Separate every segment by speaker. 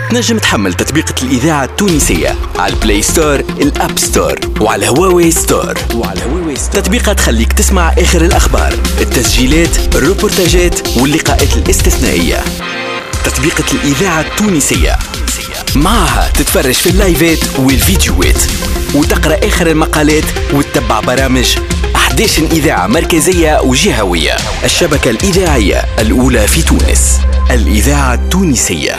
Speaker 1: تنجم تحمل تطبيقة الإذاعة التونسية على ال Play Store، ال App Store وعلى Huawei Store. تطبيقة تخليك تسمع آخر الأخبار، التسجيلات، الروبورتاجات واللقاءات الاستثنائية. تطبيقة الإذاعة التونسية معها تتفرج في اللايفات والفيديوهات وتقرأ آخر المقالات وتتبع برامج 11 إذاعة مركزية وجهوية. الشبكة الإذاعية الأولى في تونس، الإذاعة التونسية.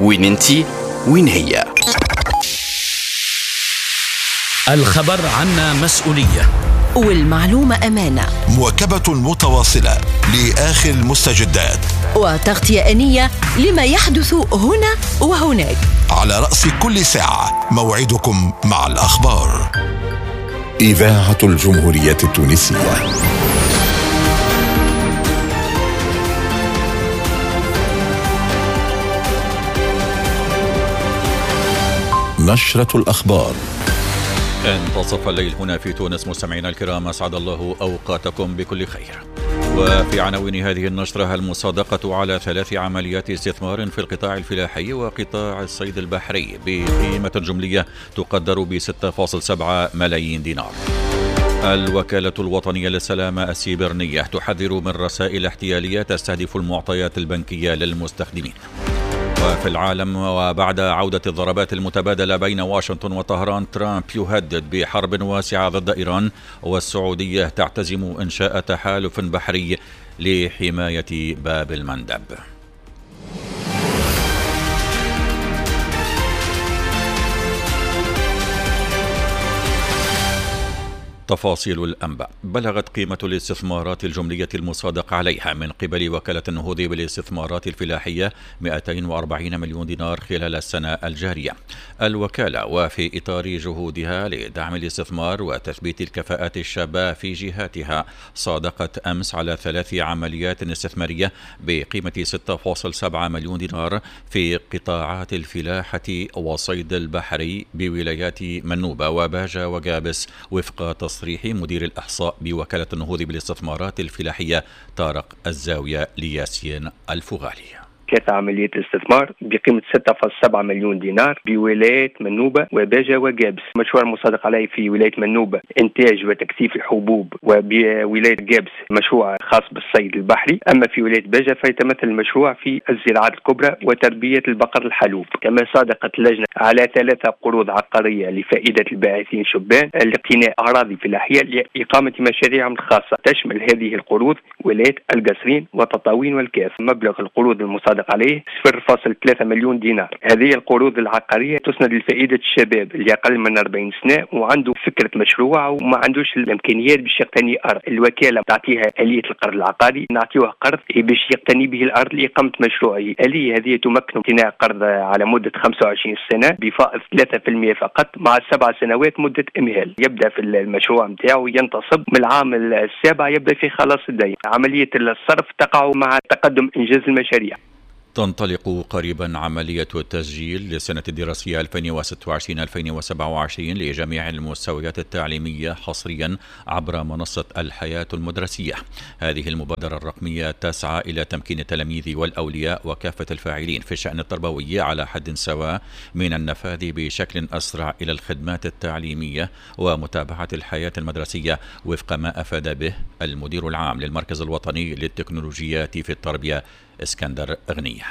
Speaker 1: وين انتي وين هي؟
Speaker 2: الخبر عنا مسؤولية
Speaker 3: والمعلومة أمانة.
Speaker 4: مواكبة متواصلة لآخر المستجدات
Speaker 3: وتغطية آنية لما يحدث هنا وهناك.
Speaker 4: على رأس كل ساعة موعدكم مع الأخبار.
Speaker 5: إذاعة الجمهورية التونسية. نشرة الأخبار.
Speaker 6: انتصف الليل هنا في تونس. مستمعينا الكرام، أسعد الله أوقاتكم بكل خير. وفي عناوين هذه النشرة: المصادقة على 3 عمليات استثمار في القطاع الفلاحي وقطاع الصيد البحري بقيمة جملية تقدر ب 6.7 ملايين دينار. الوكالة الوطنية للسلامة السيبرنية تحذر من رسائل احتيالية تستهدف المعطيات البنكية للمستخدمين. وفي العالم، وبعد عودة الضربات المتبادلة بين واشنطن وطهران، ترامب يهدد بحرب واسعة ضد إيران، والسعودية تعتزم إنشاء تحالف بحري لحماية باب المندب. تفاصيل الأنباء. بلغت قيمة الاستثمارات الجملية المصادق عليها من قبل وكالة النهوض بالاستثمارات الفلاحية 240 مليون دينار خلال السنة الجارية. الوكالة وفي إطار جهودها لدعم الاستثمار وتثبيت الكفاءات الشابة في جهاتها صادقت أمس على 3 عمليات استثمارية بقيمة 6.7 مليون دينار في قطاعات الفلاحة وصيد البحري بولايات منوبة وباجة وجابس، وفق تصريح مدير الإحصاء بوكالة النهوض بالاستثمارات الفلاحية طارق الزاوية لياسين الفغالي.
Speaker 7: 3 عمليات استثمار بقيمة 6.7 مليون دينار بولاية منوبة وباجة وجابس. مشروع المصادق عليه في ولاية منوبة إنتاج وتكثيف الحبوب، وبولاية جابس مشروع خاص بالصيد البحري. أما في ولاية باجة فيتمثل المشروع في الزراعات الكبرى وتربية البقر الحلوب. كما صادقت اللجنة على 3 قروض عقارية لفائدة الباعثين شبان لاقتناء أراضي فلاحية لإقامة مشاريعهم الخاصة. تشمل هذه القروض ولاية القصرين وتطاوين والكاف. مبلغ القروض المصادق عليه 0.3 مليون دينار. هذه القروض العقارية تسند لفائدة الشباب اللي أقل من 40 سنة وعنده فكرة مشروع وما عندوش الإمكانيات باش يقتني أرض. الوكالة تعطيها آلية القرض العقاري، نعطيوه قرض باش يقتني به الأرض لإقامة مشروعه. آلية هذه تمكن اقتناء قرض على مدة 25 سنة بفائض 3% فقط مع 7 سنوات مدة إمهال. يبدأ في المشروع نتاعو ينتصب من العام السابع يبدأ في خلاص الدين. عملية الصرف تقع مع تقدم إنجاز المشاريع.
Speaker 6: تنطلق قريبا عملية التسجيل للسنة الدراسية 2026-2027 لجميع المستويات التعليمية حصريا عبر منصة الحياة المدرسية. هذه المبادرة الرقمية تسعى إلى تمكين التلاميذ والأولياء وكافة الفاعلين في الشأن التربوي على حد سواء من النفاذ بشكل أسرع إلى الخدمات التعليمية ومتابعة الحياة المدرسية، وفق ما أفاد به المدير العام للمركز الوطني للتكنولوجيات في التربية اسكندر غنية.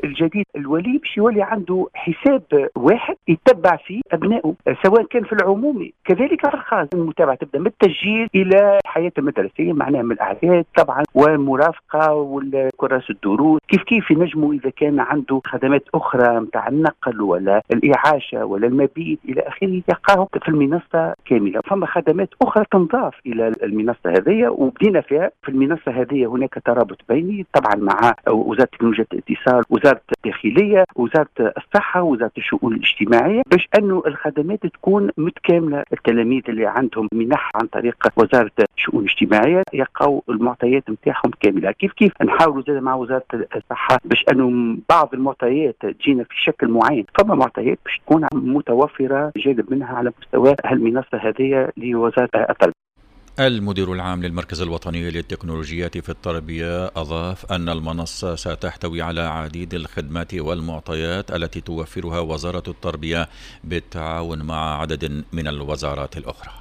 Speaker 8: الجديد الولي باش يولي عنده حساب واحد يتبع فيه ابنائه، سواء كان في العمومي كذلك في الخاص. المتابعة تبدا من التسجيل الى الحياة المدرسية، معناها من الاعداد طبعا والمرافقه والكراس الدروس. كيف كيف ينجموا اذا كان عنده خدمات اخرى نتاع النقل ولا الاعاشه ولا المبيت الى اخره يلقاه في المنصة كاملة. فما خدمات اخرى تنضاف الى المنصة هذه وبدينا فيها. في المنصة هذه هناك ترابط بيني طبعا مع وزارة تكنولوجيا الاتصال، وزارة الداخلية، وزارة الصحة، وزارة الشؤون الاجتماعية، باش أنه الخدمات تكون متكاملة. التلاميذ اللي عندهم منح عن طريق وزارة الشؤون الاجتماعية يلقاو المعطيات نتاعهم كاملة. كيف كيف نحاولوا زاد مع وزارة الصحة باش أنه بعض المعطيات تجينا في شكل معين، فما معطيات باش تكون متوفرة جانب منها على مستوى المنصة هذه لوزارة التربية.
Speaker 6: المدير العام للمركز الوطني للتكنولوجيات في التربية أضاف أن المنصة ستحتوي على عديد الخدمات والمعطيات التي توفرها وزارة التربية بالتعاون مع عدد من الوزارات الأخرى.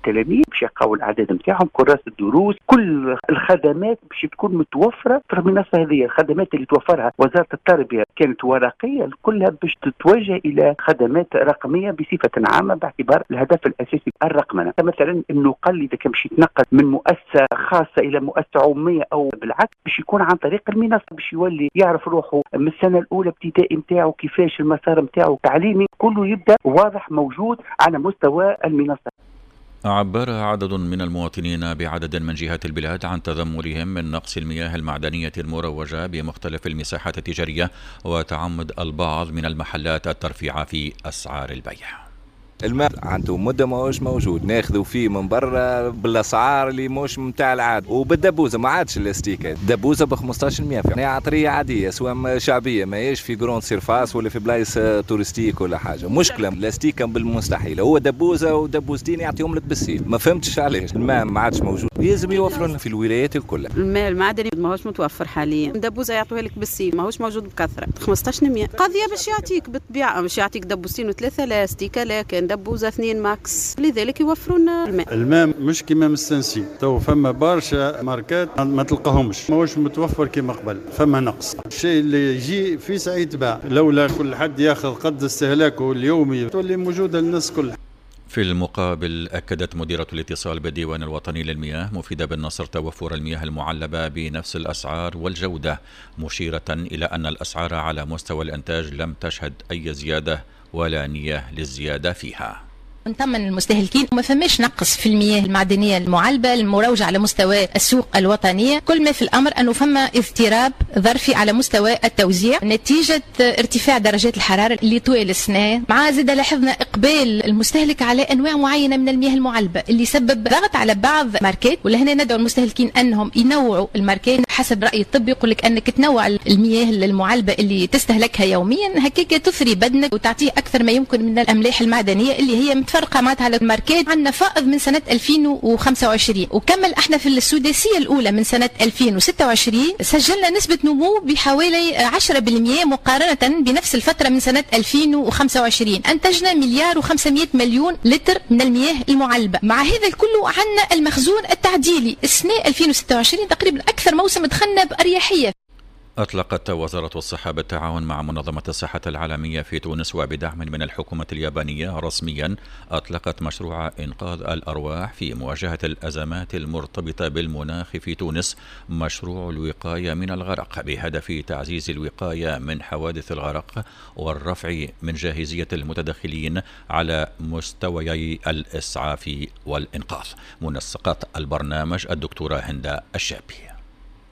Speaker 8: التلاميذ باش يلقاو الاعداد نتاعهم، كراس الدروس، كل الخدمات باش تكون متوفرة في المنصة هذه. الخدمات اللي توفرها وزارة التربية كانت ورقية كلها باش تتوجه الى خدمات رقمية بصفة عامة، باعتبار الهدف الاساسي الرقمنه. مثلا انه قل اذا كان باش يتنقل من مؤسسة خاصة الى مؤسسة عموميه او بالعكس، باش يكون عن طريق المنصة، باش يولي يعرف روحه من السنة الاولى ابتدائي نتاعو كيفاش المسار نتاعو التعليمي كله يبدا واضح موجود على مستوى المنصة.
Speaker 6: عبر عدد من المواطنين بعدد من جهات البلاد عن تذمرهم من نقص المياه المعدنية المروجة بمختلف المساحات التجارية، وتعمد البعض من المحلات الترفيع في أسعار البيع.
Speaker 9: الماء عنده مدة ماهوش موجود، ناخذوا فيه من برا بالاسعار اللي موش متاع العادة، وبالدبوزه ما عادش الاستيكه، دبوزه ب 15 يعني عطريه عادية سواء شعبية، ماهيش في grande surface ولا في بلايص touristiques ولا حاجة. مشكلة الاستيكه بالمستحيل، هو دبوزه ودبوزتين يعطيهم لك بالسيف، ما فهمتش علاش الماء ما عادش موجود. لازم يوفروا لنا في الولايات الكل.
Speaker 10: الماء المعدني ماهوش متوفر حاليا، دبوزه يعطوها لك بالسيف، ماهوش موجود بكثرة. 15 قضية باش يعطيك بالطبيعة، باش يعطيك دبوزتين وثلاثة لا استيكه، لكن دبوزه 2 max، لذلك يوفرون الماء.
Speaker 11: الماء مش كيما مستنسي، تو فما برشا ماركات ما تلقاهمش، ماهوش متوفر كيما قبل، فما نقص. الشيء اللي يجي في ساعة يتباع، لولا كل حد ياخذ قد استهلاكه اليومي تولي موجودة للناس كلها.
Speaker 6: في المقابل أكدت مديرة الاتصال بالديوان الوطني للمياه مفيدة بن نصر توفر المياه المعلبة بنفس الأسعار والجودة، مشيرة إلى أن الأسعار على مستوى الإنتاج لم تشهد أي زيادة ولا نية للزيادة فيها.
Speaker 12: نطمن المستهلكين ما فماش نقص في المياه المعدنية المعلبه المروجه على مستوى السوق الوطنية. كل ما في الامر انه فما اضطراب ظرفي على مستوى التوزيع نتيجة ارتفاع درجات الحرارة اللي طوال السنة، مع زاد لاحظنا اقبال المستهلك على انواع معينة من المياه المعلبه اللي سبب ضغط على بعض ماركات. ولهنا ندعو المستهلكين انهم ينوعوا الماركات حسب راي الطب، يقول لك انك تنوع المياه المعلبه اللي تستهلكها يوميا، هكاك تثري بدنك وتعطيه اكثر ما يمكن من الاملاح المعدنية اللي هي متفرقة معناتها على الماركات. عندنا فائض من سنة 2025 وكمل احنا في السداسيه الاولى من سنة 2026 سجلنا نسبه نمو بحوالي 10% مقارنة بنفس الفترة من سنة 2025. انتجنا 1,5 مليار لتر من المياه المعلبه. مع هذا الكل عندنا المخزون التعديلي السنة 2026 تقريبا اكثر موسم دخلنا باريحية.
Speaker 6: أطلقت وزارة الصحة بالتعاون مع منظمة الصحة العالمية في تونس وبدعم من الحكومة اليابانية رسميا أطلقت مشروع إنقاذ الأرواح في مواجهة الأزمات المرتبطة بالمناخ في تونس، مشروع الوقاية من الغرق، بهدف تعزيز الوقاية من حوادث الغرق والرفع من جاهزية المتدخلين على مستويي الإسعاف والإنقاذ. منسقة البرنامج الدكتورة هند الشابي.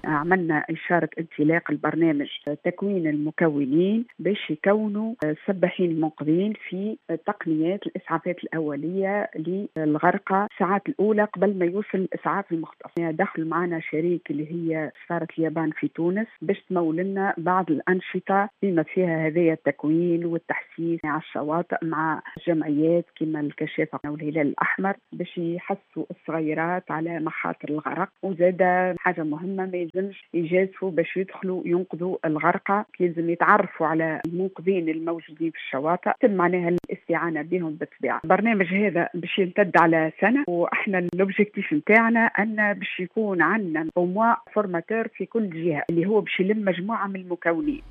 Speaker 13: عملنا إشارة انطلاق البرنامج تكوين المكونين باش يكونوا السباحين المنقذين في تقنيات الإسعافات الأولية للغرقى الساعات الأولى قبل ما يوصل الإسعاف المختص. دخل معنا شريك اللي هي سفارة اليابان في تونس باش تمول لنا بعض الأنشطة بما فيها هذايا التكوين والتحسيس على الشواطئ مع جمعيات كما الكشافة والهلال الأحمر باش يحسوا الصغيرات على مخاطر الغرق. وزاد حاجة مهمة، ما يلزمش يجازفوا باش يدخلوا ينقذوا الغرقى، يلزم يتعرفوا على المنقذين الموجودين في الشواطئ، تم معناها الاستعانة بهم. بالطبيعة البرنامج هذا باش يمتد على سنة، واحنا l'objectif نتاعنا ان باش يكون عندنا au moins formateur في كل جهة اللي هو باش يلم مجموعة من المكونين.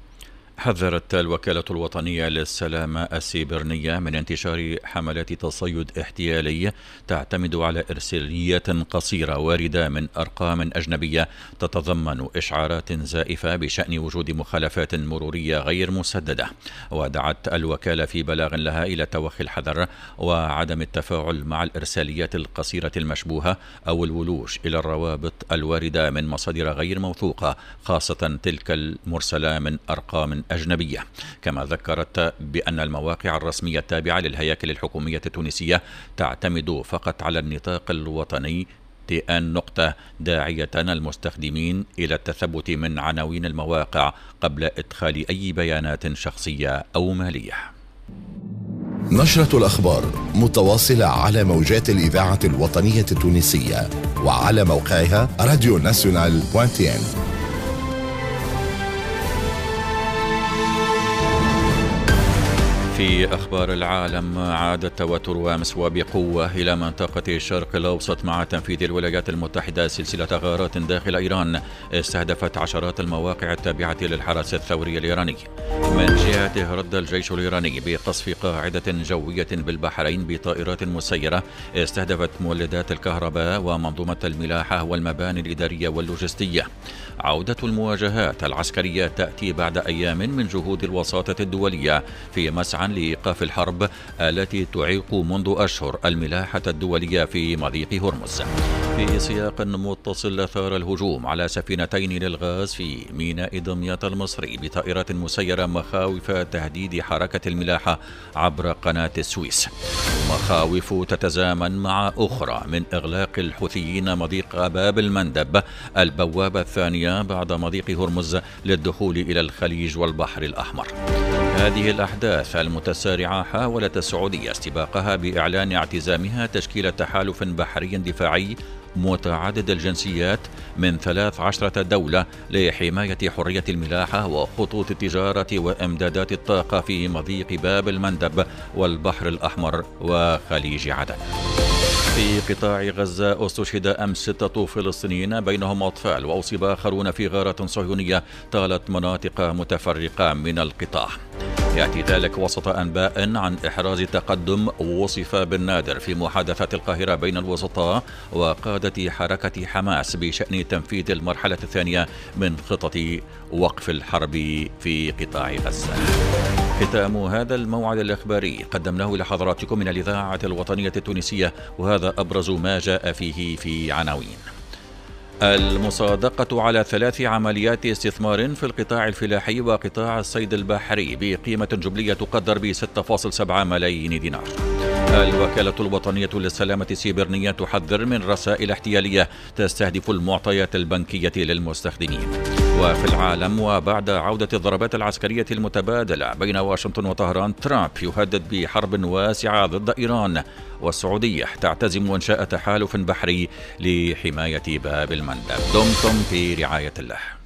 Speaker 6: حذرت الوكالة الوطنية للسلامة السيبرنية من انتشار حملات تصيد احتيالي تعتمد على إرساليات قصيرة واردة من أرقام أجنبية تتضمن إشعارات زائفة بشأن وجود مخالفات مرورية غير مسددة. ودعت الوكالة في بلاغ لها إلى توخي الحذر وعدم التفاعل مع الإرساليات القصيرة المشبوهة أو الولوج إلى الروابط الواردة من مصادر غير موثوقة، خاصة تلك المرسلة من أرقام أجنبية. كما ذكرت بأن المواقع الرسمية التابعة للهياكل الحكومية التونسية تعتمد فقط على النطاق الوطني TN نقطة، داعية المستخدمين إلى التثبت من عناوين المواقع قبل إدخال أي بيانات شخصية أو مالية.
Speaker 5: نشرة الأخبار متواصلة على موجات الإذاعة الوطنية التونسية. وعلى موقعها radionational.tn.
Speaker 6: في أخبار العالم، عاد التوتر أمس وبقوة إلى منطقة الشرق الأوسط مع تنفيذ الولايات المتحدة سلسلة غارات داخل إيران استهدفت عشرات المواقع التابعة للحرس الثوري الإيراني. من جهته رد الجيش الإيراني بقصف قاعدة جوية بالبحرين بطائرات مسيرة استهدفت مولدات الكهرباء ومنظومة الملاحة والمباني الإدارية واللوجستية. عودة المواجهات العسكرية تأتي بعد أيام من جهود الوساطة الدولية في مسعى لإيقاف الحرب التي تعيق منذ أشهر الملاحة الدولية في مضيق هرمز. في سياق متصل، أثار الهجوم على سفينتين للغاز في ميناء دمياط المصري بطائرات مسيرة مخاوف تهديد حركة الملاحة عبر قناة السويس. مخاوف تتزامن مع أخرى من إغلاق الحوثيين مضيق باب المندب، البوابة الثانية بعد مضيق هرمز للدخول إلى الخليج والبحر الأحمر. هذه الأحداث المتسارعة حاولت السعودية استباقها بإعلان اعتزامها تشكيل تحالف بحري دفاعي متعدد الجنسيات من 13 دولة لحماية حرية الملاحة وخطوط التجارة وإمدادات الطاقة في مضيق باب المندب والبحر الأحمر وخليج عدن. في قطاع غزة استشهد أمس 6 فلسطينيين بينهم أطفال، وأصيب آخرون في غارة صهيونية طالت مناطق متفرقة من القطاع. يأتي ذلك وسط أنباء عن إحراز تقدم وصف بالنادر في محادثات القاهرة بين الوسطاء وقادة حركة حماس بشأن تنفيذ المرحلة الثانية من خطة وقف الحرب في قطاع غزة. ختام هذا الموعد الإخباري قدمناه لحضراتكم من الإذاعة الوطنية التونسية، وهذا أبرز ما جاء فيه في عناوين: المصادقة على 3 عمليات استثمار في القطاع الفلاحي وقطاع الصيد البحري بقيمة جملية تقدر ب 6.7 ملايين دينار. الوكالة الوطنية للسلامة السيبرنية تحذر من رسائل احتيالية تستهدف المعطيات البنكية للمستخدمين. وفي العالم، وبعد عودة الضربات العسكرية المتبادلة بين واشنطن وطهران، ترامب يهدد بحرب واسعة ضد إيران، والسعودية تعتزم إنشاء تحالف بحري لحماية باب المندب. دمتم في رعاية الله.